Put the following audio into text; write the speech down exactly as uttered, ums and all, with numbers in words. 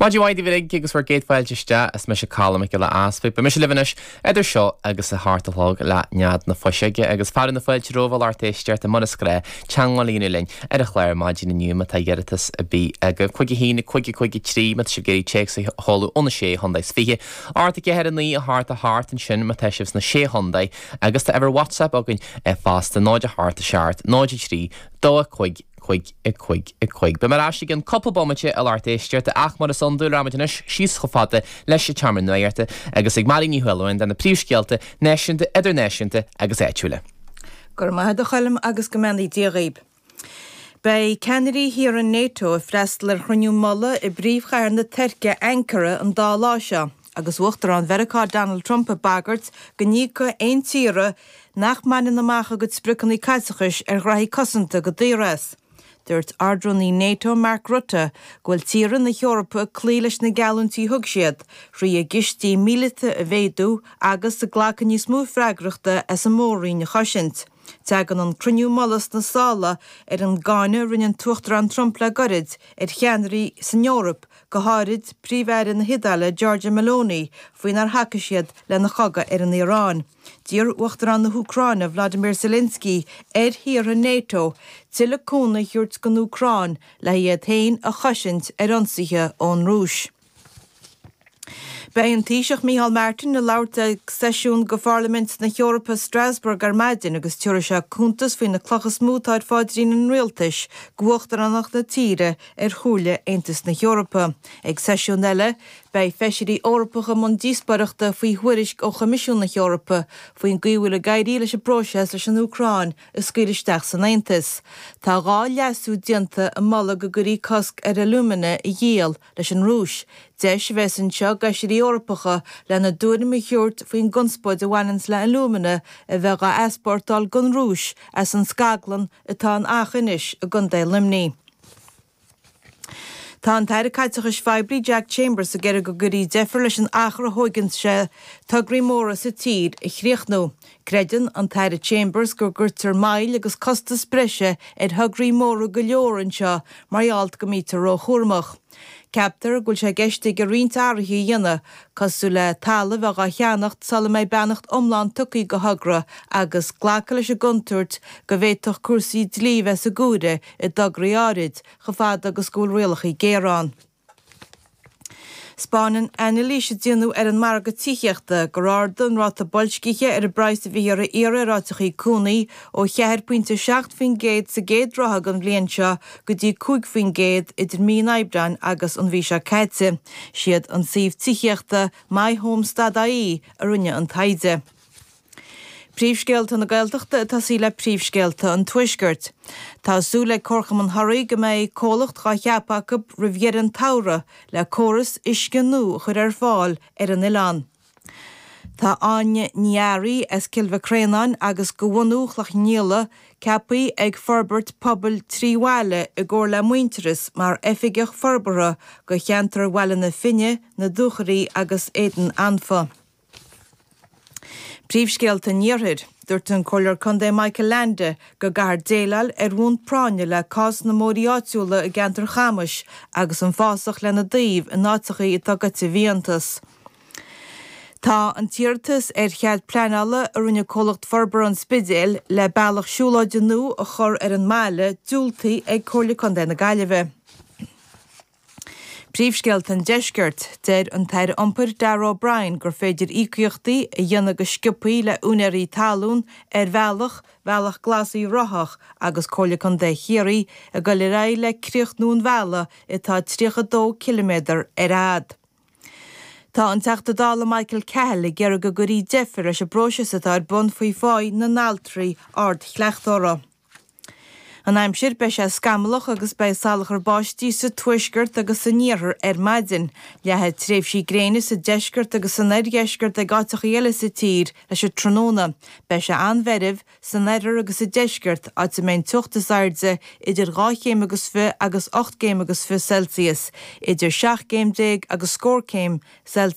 Maidin mhaith daoibh uilig agus bhur gcéad fáilte isteach is mise Colm Mac Giolla Easpaig. Beidh mise libh anois idir seo agus a hocht a chlog le nead na fuiseoige agus fearadh na fáilte romhaibh a lucht éisteachta mar is gnách teagmháil a dhéanamh linn ar an chlár maidin inniu má tá iarratas ar bith agaibh. Cúig a haon cúig a cúig a trí má tá sibh ag iarraidh téacs a sheoladh óna sé chontae is fiche. Ocht a ceathair a naoi a hocht a hocht ansin má tá sibh sna sé chontae agus tá uimhir WhatsApp againn fosta náid a hocht a seacht náid a trí dó a cúig cúig a cúig a cúig. Beidh mé ar ais i gceann cúpla bomaite a lucht éisteachta ach mar is iondúil rachaimid anois síos chomh fada leis an tseomra nuachta agus ag Máirín Ní Shúilleabháin do na príomhscéalta náisiúnta, idirnáisiúnta agus áitiúla. Gur maith a Choilm agus go mbeannaí Dia dhaoib. Beidh ceannairí thíortha NATO ag freastal ar chruinniú mullaigh i bpríomhchathair na Tuirce Ankara an dá lá seo, agus Uachtarán Mheiriceá Donald Trump ag bagairt go n-íocfaidh aon tíortha nach mbaineann amach a gcuid spriocanna caiteachais ar ghraithí cosanta go daor as. Dúirt Ardrúnaí NATO Mark Rutte go bhfuil tíortha na hEorpa ag cloí leis na geallúintí thug siad, thrí a gcistí míleata a mhéadú agus ag glacadh níos mó freagrachta as an mór-roinn a chosaint. Tagann an cruinniú mullaigh sna sála ar an gcáineadh a rinne an tUachtarán Trump le gairid ar cheannairí san Eoraip, go háirid Príomh-Aire na hIodáile Giorgia Meloni, faoinar thacaigh siad lena chogadh ar an Iaráin. D'iarr Uachtarán na hÚcráine Vladimir Zelensky ar thíortha NATO tuilleadh cúnamh a thabhairt don Úcráin le iad féin a chosaint ar ionsaithe ón Rúis. Beidh an Taoiseach Micheál Martin ag labhairt ag seisiún de Pharlaimint na hEorpa Strasbourg ar maidin agus tabharfaidh sé cuntas faoi na clocha is mó atá ar phaidrín an rialtais d'uachtaránacht na tíre ar Chomhairle Aontas na hEorpa. Ag seisiún eile, beidh feisirí Eorpacha i mbun díospóireachta faoi thuairisc ó Choimisiún na hEorpa faoin gcaoi a bhfuil ag éirí leis an bpróiseas leis an Úcráin a scaoileadh isteach san Aontas. Tá dhá leasú déanta i moladh go gcuirfí cosc ar alúmana a dhíol leis an Rúis. Deis a bheas anseo d'fheisirí Eorpacha lena dtuairim a thabhairt faoin gconspóid a bhaineann le alúmana a bheith á easpórtáil don Rúis as an scaglann atá in Achadh Fhinis i gContae Luimnigh. Tá an tAire Caiteachais Phoiblí Jack Chambers ag iarraidh go gcuirfí deifir leis an achar a thógann sé tograí móra sa tír a chríochnú. Creideann an tAire Chambers go gcuirtear moill agus costas breise ar thograí móra go leor anseo mar gheall go mbítear róchúramach. Ceaptar go bhfuil sé i gceist aige roinnt athruithe a dhéanamh, cosúil le talamh a bheith á cheannacht sula mbeidh beannacht iomlán tugtha do thogra agus glacadh leis an gcontúirt go bhféadfadh cúrsaí dlí bheith sa gcomhaireamh i dtograí áirid, chomh fada agus go bhfuil rialacha géara ann. 'Spáineann anailís a déanadh ar an margadh tithíochta gur ardaigh an ráta boilscithe ar an bpraghas a bhíthear a iarraidh ar áiteachaí cónaí ó cheathair pointe seacht faoin gcéad sa gcéad ráithe den bhliain seo go dtí cúig faoin gcéad idir mí an Aibreáin agus an mhí seo caite. Siad an suíomh tithíochta myhomes.ie a rinne an taighde. Príomhscéalta na Gaeltachta ag tosaí le príomhscéalta an Tuaiscirt. Tá súil ag Comharchumann Thoraí go mbeidh comhlacht á cheapadh acu roimh dheireadh an tsamhraidh le córas uisce nua a chur ar fáil ar an oileán. Tá Áine Ní Fhearraigh as Cill Mhic Réanáin agus de bhunú Chloich Cheann Fhaola ceaptha ag Forbairt Pobail Trí Bhaile i gcomhar le Muintearas mar oifigeach forbartha do cheantar Bhaile na Finne, na Dúchoraidh agus Éadan Anfa. Príomhscéalta an Iarthair. Dúirt an Comhairleoir Contae Michael Leainde go gcaithfear déileáil ar bhonn práinne le cás na mbóithrí áitiúla i gceantar Chamais agus an fásach lena dtaobh in áiteachaí atá goite i bhfiántas. Tá an t-iarratas ar chead pleanála a rinne comhlacht forbartha an Spidéil le bealach siúlóide nua a chur ar an mbaile diúltaithe ag Comhairle Contae na Gaillimhe. Príomhscéalta an Deiscirt. Deir an tAire Iompair Darragh O'Brien gur féidir íocaíochtaí a dhéanamh go sciobthaí le úinéirí talún ar bhealach Bhealach Glas Uíbh Ráthach agus Comhairle Contae Chiarraí ag dul ar aghaidh le críochnú an bhealaigh atá tríocha dó ciliméadar ar fhad. Tá an Teachta Dála Michael Cahill ag iarraidh go gcuirfí deifir leis an bpróiseas atá ar bun faoi pháí na n-altraí ardchleachtóra. An aimsir, beidh sé scamallach agus beidh salachar báistí sa tuaisceart agus san iarthar ar maidin. Leathfaidh tréimhsí gréine sa deisceart agus san oirdheisceart ag áiteachaí eile sa tír leis an tráthnóna. Beidh sé an-mheirbh san oirthear agus sa deisceart, áit a mbeidh an teocht is airde idir dhá chéim agus fiche agus ocht gcéim agus fiche Celsius, idir seacht gcéim déag agus scór céim Celsius.